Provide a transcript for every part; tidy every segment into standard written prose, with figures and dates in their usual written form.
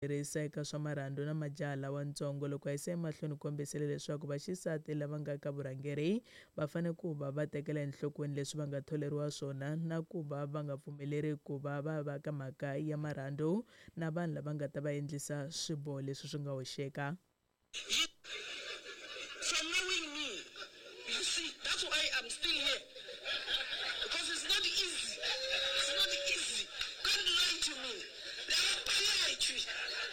Tirhisa eka swa marhandzu na majaha lawantsongo. Loko a yisa emahlweni u kombisile leswaku vaxisati lava nga ka vurhangeri va fanele ku va va tekela enhlokweni leswi va nga tholeriwa swona na ku va va nga pfumeleri ku va va va ka mhaka ya marhandzu na vanhu lava nga ta va endlisa swiboho leswi swi nga hoxeka. For knowing me, you see, that's why I'm still here because it's not easy, it's not easy, don't lie to me.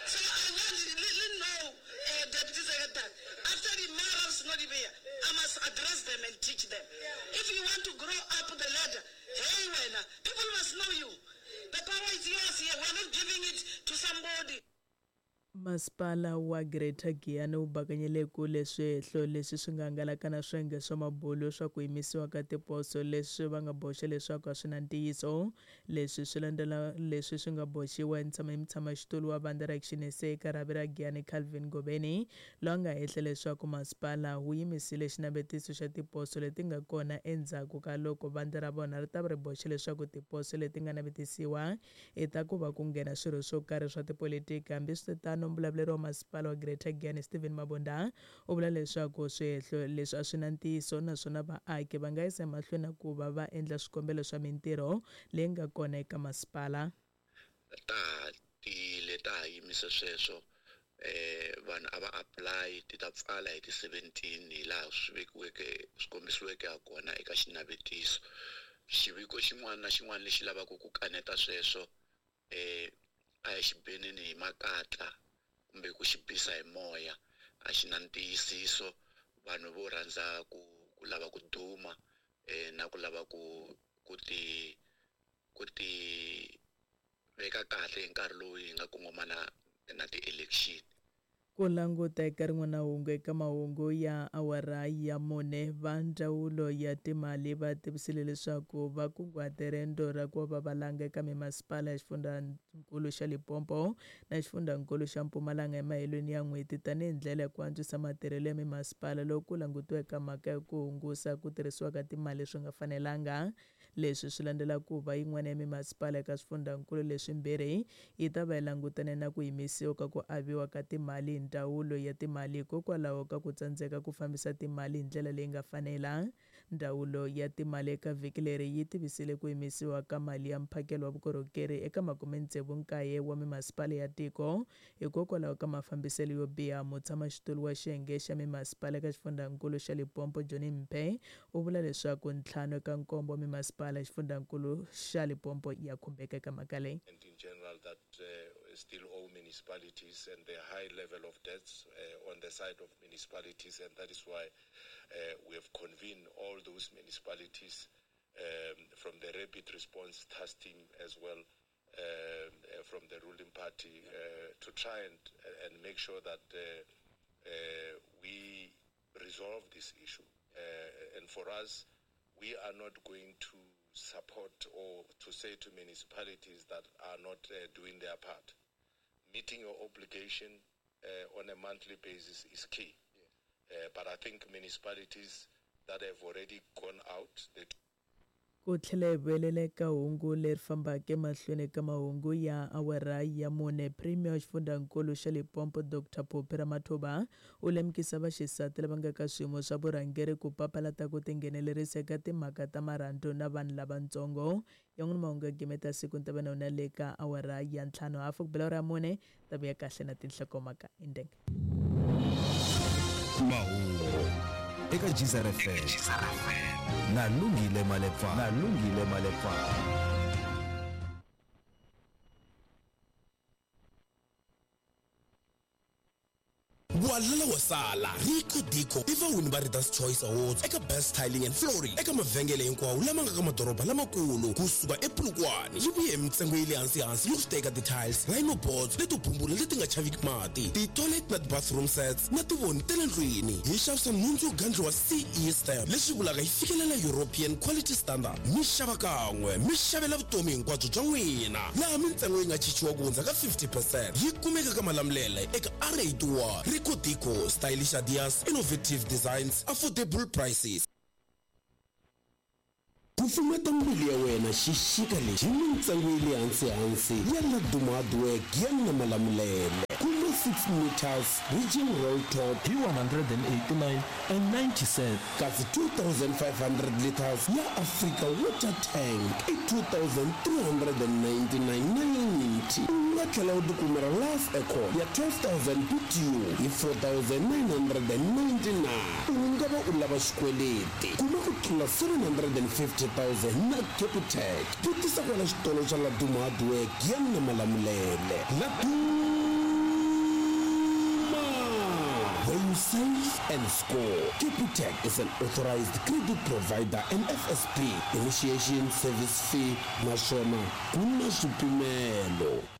So I want le le know Deputy Secretary, after the mara seno di beya, I must address them and teach them. If you want to grow up the ladder, hey wena, people must know you. The power is yours here, we are not giving it to somebody. Masipala wa Greater Giyani wu bakanyele kule swihehlo leswi swi nga hangalaka na swiyenge swa mabulu swa ku yimisiwa ka tiposo leswi va nga boxa leswaku a swi na ntiyiso. Leswi swi landzela leswi swi nga boxiwa hi hi mutshamaxitulu wa vandla ra Action SA eka rhavi ra Giyani Calvin Ngobeni loyi a nga hehla leswaku masipala wu yimisile xinavetiso xa tiposo leti nga kona endzhaku ka loko vandla ra vona ri ta va ri boxe leswaku tiposo leti nga navetisiwa i ta ku va ku nghena swirho swo karhi swa tipolitiki. Hambiswiritano, muvulavuleri wa masipala wa Greater Giyani Steven Mabunda u vula leswaku swihehlo leswi a swi na ntiyiso naswona vaaki va nga yisa emahlweni na ku va va endla swikombelo swa mintirho leyi nga kona eka masipala. Ta ha tiyile, ta ha yimise sweswo. Vanhu a va apply, ti ta pfala hi ti 17 hi laha swi vekiweke, swi kombisiweke ha kona eka xinavetiso. Xiviko xin'wana na xin'wana lexi lavaka ku kaneta sweswo a hi xi beneni hi makatla kumbe ku xi bisa hi moya, a xi na ntiyisiso. Vanhu vo rhandza ku ku lava ku duma na ku lava ku ku ti ku ti veka kahle hi nkarhi lowu hi nga kongomana na ti-election. Ku languta eka rin'wana hungu eka mahungu ya awara ya mune, va ndzawulo ya timali va tivisile leswaku va kunguhate rendzo ra ku va valanga eka mimasipala ya xifundzankulu xa Limpopo na xifundzankulu xa Mpumalanga emahelweni ya n'hweti tanihi ndlela ya ku antswisa matirhelo ya mimasipala loko ku langutiwa eka mhaka ya ku hungusa ku tirhisiwa ka timali swi nga fanelanga. Leswi swi landzela ku va yin'wana ya mimasipala eka swifundhankulu leswimbirhi yi ta va yi langutane na ku yimisiwa ka ku aviwa ka timali hi Ndzawulo ya Timali hikokwalaho ka ku tsandzeka ku fambisa timali hi ndlela leyi nga fanela. Ndzawulo ya Timali eka vhiki leri yi tivisile ku yimisiwa ka mali ya mphakelo wa vukorhokeri eka makume-tsevu-nkaye wa mimasipala ya tiko hikokwalaho ka mafambiselo yo biha. Mutshamaxitulu wa xiyenge xa mimasipala eka xifundhankulu xa Limpopo Johnny Mphe U vula leswaku ntlhanu eka nkombo wa mimasipala ya xifundzankulu xa Limpopo ya khumbeka eka mhaka leyi. And in general that still owe municipalities and the high level of debts on the side of municipalities and that is why we have convened all those municipalities from the rapid response task team as well from the ruling party to try and and make sure that we resolve this issue. And for us, we are not going to support or to say to municipalities that are not doing their part. Meeting your obligation on a monthly basis is key. But I think municipalities that have already gone out, the Ku tlhela hi vuyelela eka hungu leri fambaka emahlweni eka mahungu ya awara ya mune, Premier wa xifundzankulu xa Limpopo Doctor Phophi Ramathuba u lemukisa vaxisati lava nga ka swiyimo swa vurhangeri ku papalata ku tinghenelerisa eka timhaka ta marhandzu na vanhu lavatsongo. Yan'wana mahungu ya gimeta siku ni ta va na wona le ka awara ya ntlhanu hafu ku bela awara ya mune ta vuya kahle na tinhlokomhaka indenge. Mahungu eka Geyser FM na Lungile Malepa na Lungile Malepa. Walala wa sala, Rico Dico i vawini va Reader's Choice Awards eka Best Tiling and Flooring eka mavhengele hinkwawo lama nga ka madoroba lamakulu kusuka ePolokwane. Yi vuye hi mintsengo ya le hansi-hansi loko swi ta eka ti-tiles, rhino boards leto bumbula leti nga chaviki mati, ti-toilet na ti-bathroom sets na tivoni ta le ndlwini. Hi xavisa nhundzu yo gandliwa CE stamp, leswi vulaka yi fikelela European Quality Standard. Mi xava kan'we, mi xavela vutomi hinkwabyo bya n'wina, laha mintsengo yi nga chichiwa ku hundza ka 50 percent. Yi kumeka ka Malamulele eka R81. Rico Dico, stylish ideas, innovative designs, affordable prices. Kufumeta mbilu ya wena xixika lexi hi mintsengo ya le hansi-hansi ya Laduma Hardware Giyani na Malamulele. Kuma 6 meters Ridging Roll Top hi 189 and 90 cents. Kasi 2500 liters ya Africa Water Tank i 2399.90. U nga tlhela u tikumela Life Aircon ya 12000 BTU hi 4999. U nga va u lava xikweleti kuma ku tlula 750,000 na Capitec. Vutisa kwala xitolo xa Laduma Hardware Giyani na Malamulele. Laduma! Where you save and score. Capitec is an authorized credit provider and FSP. Initiation service fee naswona ku na swipimelo.